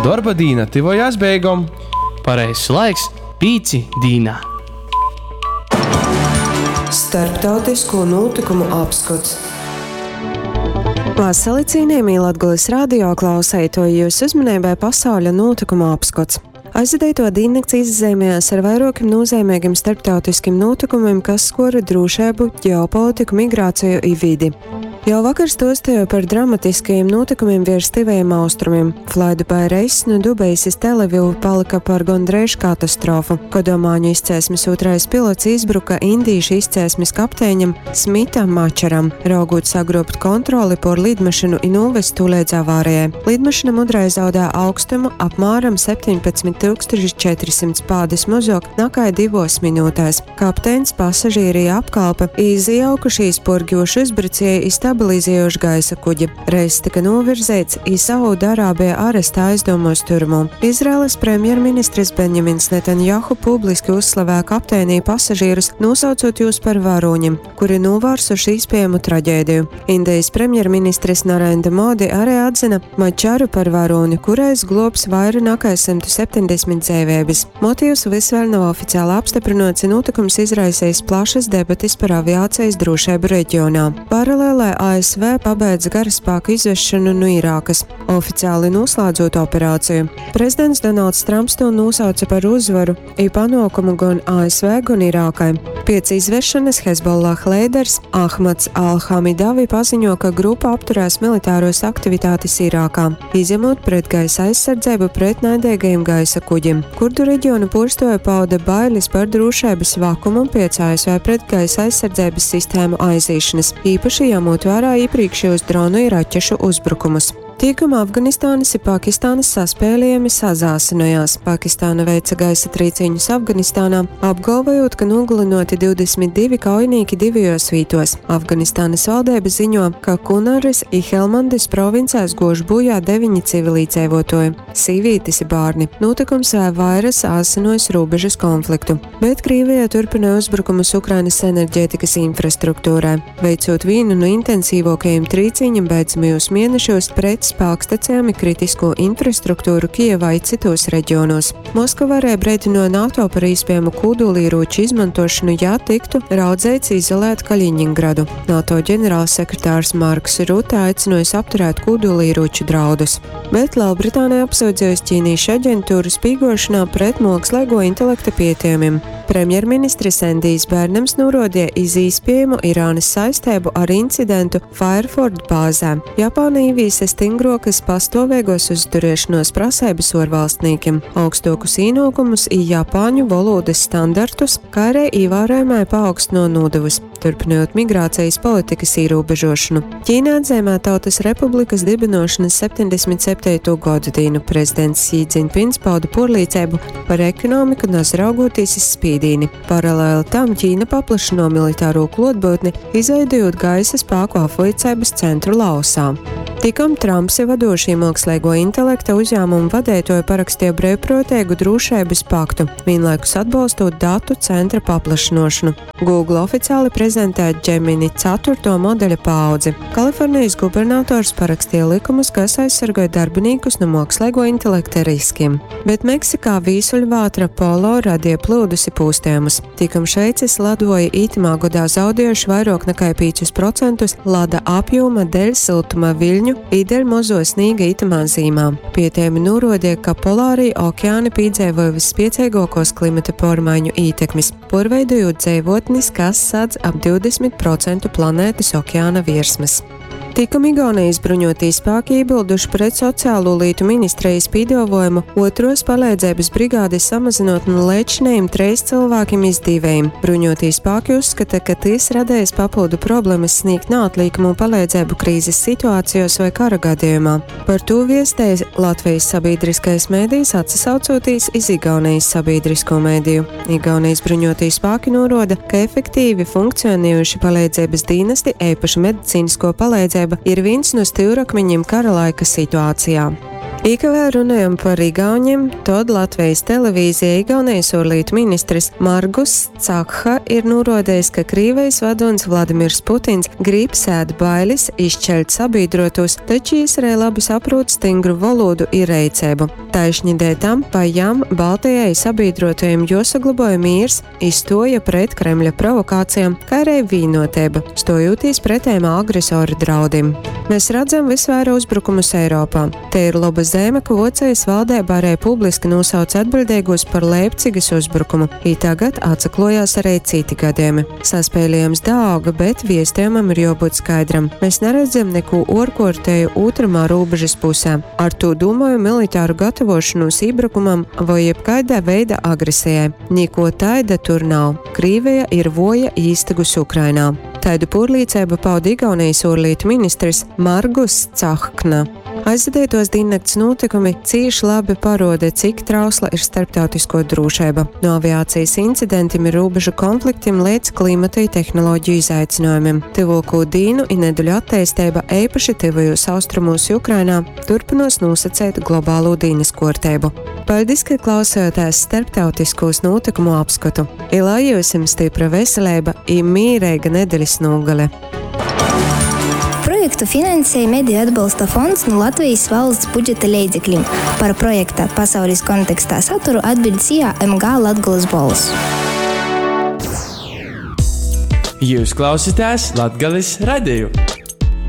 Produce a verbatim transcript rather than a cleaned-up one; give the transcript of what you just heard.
Dorba dīna tyvojās beigom. Pareizs laiks pīci dīnā. Starptautisko nūtykumu apskots. Vasali, cienījamie Latgales radio klauseitoji, jūsu uzmanībai pasauļa nūtykumu apskots. Aizvadīto diennakts izzīmējās ar vairākiem nozīmīgiem starptautiskiem notikumiem, kas skora drošību, ģeopolitiku, migrāciju i vidi. Jau vakar stostīju par dramatiskajiem notikumiem virs Tuvajiem Austrumiem. Flydubai reiss no Dubajas iz Telavivu palika par gondreiž katastrofu, kad omāņu izcelsmes otrais pilots izbruka indīšu izcelsmes kapteiņam Smitam Mačaram, raugot sagrobt kontroli por lidmašīnu i novest to līdz avārijai. Lidmašīna mudrai zaudē augstumu apmēram septiņpadsmit tūkstoši četrsimt pādes mazāk nekā divos minūtēs. Kapteins, pasažieri apkalpe izjaukušies porģošu uzbrucēju i stabilizējuši gaisa kuģi. Reiss tika novirzīts i Saudārābija arestā aizdomos turmu. Izraēlas premjerministrs Benjamins Netanjahu publiski uzslavēja kapteinī pasažierus, nosaucot jūs par varoņiem, kuri novērsuši iespējamu traģēdiju. Indijas premjerministrs Narendra Modi arī atzina Mačaru par varoni, kurais globs vairāk nekā simt septiņdesmit dzīvības. Motīvs vis vēl nav oficiāli apstiprināts, un notikums izraisījis plašas debates par aviācijas drošību reģionā. Paralēlē A S V pabeidza karaspēku izvešanu no Irākas, oficiāli noslēdzot operāciju. Prezidents Donalds Trumps to nosauca par uzvaru i panākumu gan A S V, gan Irākai. Pēc izvešanas Hezbollah līderis Ahmads Al-Hamidavi paziņo, ka grupa apturēs militāros aktivitātes Irākā, izņemot pretgaisa aizsardzību pret naidīgajiem gaisa kuģiem. Kurdu reģionu porstoja pauda bailes par drošības vakumu pēc A S V pretgaisa aizsardzības sistēmu aizīšanas, īpaši ņemot vērā iepriekšējos dronu i raķešu uzbrukumus. Tīkuma Afganistānas i Pakistānas saspēlējumi sazāsinojās. Pakistāna veica gaisa trīciņus Afganistānā, apgalvojot, ka nogalinoti divdesmit divi kaujinieki divajos vītos. Afganistānas valdība ziņo, ka Kunaras i Helmandes provincēs gož bojā deviņi civilīdzēvotoji, sīvītes i bārni. Notikums vēl vairs āsinojas robežas konfliktu. Bet Krievija turpina uzbrukumus Ukrainas enerģētikas infrastruktūrai, veicot vienu no intensīvākajiem trīciņiem beidzamajos mēnešos pret spēkstacijām i kritisko infrastruktūru Kijevā i citos reģionos. Moskava arī brīdināja NATO par iespējamu kodolieroču izmantošanu, ja tiktu raudzīts izolēt Kaļiņingradu. NATO ģenerālsekretārs Marks Rutte aicinājis apturēt kodolieroču draudus. Bet Lielbritānija apsūdzējusi ķīniešu aģentūru spīgošanā pret mākslīgo intelekta pētījumiem. Premjerministrs Endijs Bērnams norodīja iz iespējamu Irānas saistību ar incidentu Fairford bāzē. Japāna ieviesa stingrokas pastāvīgos uzturēšanos prasības orvalstniekiem, augstokus īnokumus i japāņu valodas standartus, kā arī ievērojamai paaugstino nodevus, turpinot migrācijas politikas ierobežošanu. Ķīna atzīmē Tautas Republikas dibināšanas septiņdesmit septīto gadu dienu. Prezidents Xi Jinpings pauda porlīdzību par ekonomiku, nazraugoties iz spīdīni. Paralēli tam Ķīna paplašino militāro klotbūtni, izveidojot gaisa spēku apviecības centru Laosā. Tikom Trumps ir vadošie mākslīgo intelekta uzņēmumu vadītāji parakstīja brīvprātīgu drošības paktu, vienlaikus atbalstot datu centra paplašināšanu. Google oficiāli prezentē Gemini ceturto modeļa paudzi. Kalifornijas gubernators parakstīja likumus, kas aizsargāja darbiniekus no mākslīgo intelekta riskiem. Bet Meksikā vīsuļvētra Polo radīja plūdus i pūstējumus. Tikom Šveices ledoja itimā gadā zaudējuši vairāk nekā piecus procentus lada apjoma dēļ siltuma viļņu i dēļ mazo sniega itamā zīmā. Pētījumi norādīja, ka polārie okeāni piedzīvoja visspiecīgākos klimata pārmaiņu ietekmes, porveidojot dzīvotnes, kas sadz ap divdesmit procentu planētas okeāna virsmas. Tikam Igaunijas bruņotī spēki iebilduši pret sociālo lietu ministrijas piedāvājumu otros palīdzības brigādes samazinot no līdzinējiem treis cilvēkiem iz diviem. Bruņotī spēki uzskata, ka tas radījis papildu problēmas sniegt neatliekamu palīdzību krīzes situācijos vai kara gadījumā. Par to viestēja Latvijas sabiedriskais mēdījis atsaucoties iz Igaunijas sabiedrisko mēdīju. Igaunijas bruņotī spēki noroda, ka efektīvi funkcionējuši palīdzības dienesti, īpaši medicīnisko palīdzību, ir viens no stūrakmeņiem kara laika situācijā. I ka vēl runājam par Igauņiem, tod Latvijas televīzija Igaunijas ārlietu ministrs Margus Cakha ir norodējis, ka Krīvijas vadonis Vladimirs Putins grib sēt bailes, izšķelt sabiedrotos, taču arī labi saprot stingru valodu i reicēbu. Taišņi dēļ tam pa jam Baltijai sabiedrotajiem josaglabāja mīrs, izstoja pret Kremļa provokācijām, kā arī vīnotība, stojoties pretējiem agresoru draudim. Mēs redzam visvairāk uzbrukumus Eiropā. Te ir laba zeme, ka Vocijas valdība arī publiski nosauc atbildīgos par Leipcigas uzbrukumu, i tagad atsaklojās arī citi gadījumi. Saspēlējums dauga, bet viestījumam ir jābūt skaidram. Mēs neredzam neko orkortēju otramā robežas pusē. Ar to domāju militāru gatavošanos iebrukumam vai jebkādā veida agresijai. Niko taida tur nav. Krīvija ir voja īstagus Ukrainā. Taidu pūrlīcību pauda Igaunijas ārlietu ministrs Margus Cahkna. Aizvadītos diennakts notikumi cīši labi paroda, cik trausla ir starptautisko drošība. No aviācijas incidentiem ir robežu konfliktiem līdz klimata i tehnoloģiju izaicinājumiem. Tuvāko dīnu i nedeļu attīstība, īpaši tuvajos austrumos i Ukrainā, turpinos nosacīt globālo dīnas kārtību. Paldies, ka klausījāties starptautiskos notikumu apskatu. I lai jums stipra veselība i mīrīga nedēļas nogale. Projektu finansēja Mediju atbalsta fonds no Latvijas valsts budžeta leidzekļiem. Par projekta pasaules kontekstā saturu atbild SIA M G Latgolas Bols. Jūs klausāties Latgales radio.